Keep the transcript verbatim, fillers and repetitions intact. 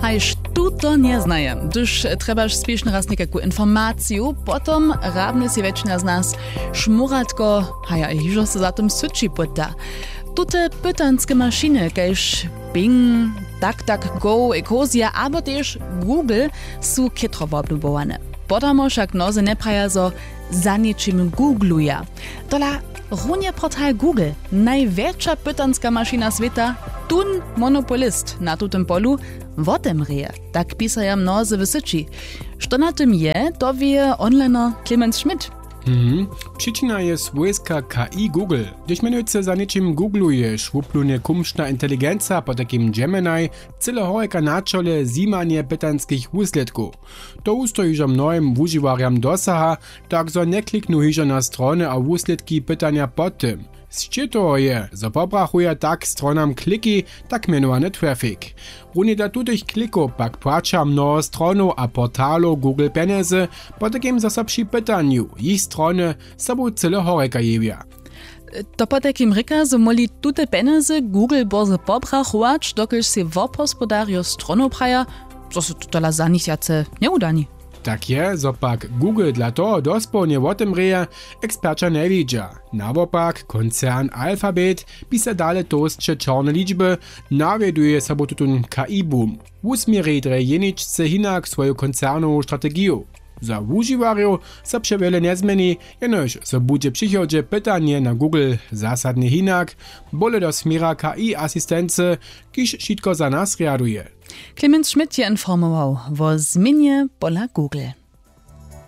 Kaž tu to njeznaje, hdyž trjebaš spěšnje raz někajku informaciju, potom hrabnje sej wjetšina z nas šmóratko, haja hižo so za tym syći pyta. Tute pytanske mašiny kaž Bing, DuckDuckGo, Ecosia abo tež Google su chětro woblubowane. Podamo wšak mnozy njepraja zo za něčim googluja. Tola runje portal Google, najwjetša pytanska mašina swěta, tón monopolist na tutym polu, wotemrěje, tak pisaja mnozy w syći. Što na tym je, to wěje onliner Clemens Schmidt. Mhm. Přičina je swójska K I Google. Hdyž mjenujcy za něčim googluješ, wuplunje kumšna inteligenca, potajkim Gemini, cyle horjeka na čole zjimanje pytanskich wuslědkow. To wustoji hižo mnohim wužiwarjam dosaha, tak zo njekliknu hižo na strony a wuslědki pytanja po tym. Sće toho je, zo pobrachuja tak stronam kliki, tak mjenowany traffic. Runje dla tutych klikow pak płaća mnoho stronow a portalow Google pjenjezy, potajkim zo so při pytanju jich strony sobu cyle horjeka jewja. To potajkim rěka, zo móhli tute pjenjezy Google bórze pobrachować, dokelž sej wobhospodarjo stronow praja, zo so to tola za nich wjace njewudani. Tak je, zo pak Google dla toho dospołnje wotemrěje, eksperća njewidźa. Nawopak, koncern Alphabet pisa dale tołsće čorne ličby, nawjeduje sobu tutón K I boom. Wusměri drje jeničce hinak swoju koncernowu strategiju. Za wužiwarjow so přewjele njezměni, jenož zo budźe w přichodźe pytanje na Google zasadnje hinak, bóle do směra K I asistency, kiž wšitko za nas rjaduje. Clemens Schmidt je informował wo změnje pola Google.